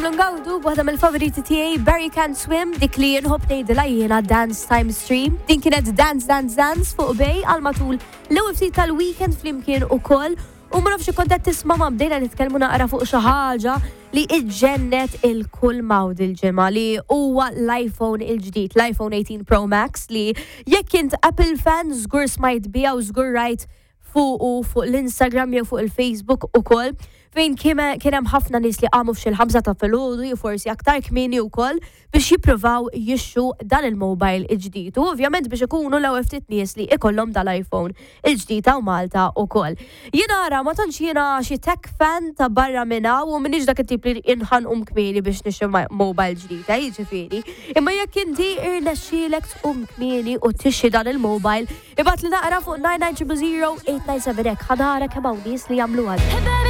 Ngawdu b'waħda mill-favoriti tiegħi Barry Can't Swim, dik li nħobb ngħidilha jiena Dance Time Stream. Din kienet Dance Dance Dance fuq Bay għal matul l-ewwel ftit tal-weekend flimkien ukoll. U ma nafx kont qed tisma' ma bdejna nitkellmu naqra fuq xi ħaġa li iġġennet il-kull mawd il-ġimgħa li huwa l-iPhone il-ġdid, l-iPhone 18 Pro Max li jekk int Apple fan żgur smajt biha u żgur rajt fuqu fuq l-Instagram jew fuq il-Facebook ukoll fejn kien hemm ħafna nies li qamu f'xi l-5 ta' filgħodu jew forsi aktar kmieni wkoll biex jippruvaw jixtru dan il-mobile il-ġdid. U ovvjament biex ikunu l-ewwel ftit nies li ikollhom dal-iPhone il-ġdid hawn Malta ukoll. Jiena ara ma tantx jiena xi tech fan ta' barra minn hawn u m'iniex dak it-tip li nħanqum kmieni biex nixtri mobile ġdid, jiġifieri. Imma jekk inti irnexxielek tqum kmieni u tixtri dan il-mobile, ibgħatli naqra fuq 990 897 hekk ħa nara kemm hawn nies li jagħmluha.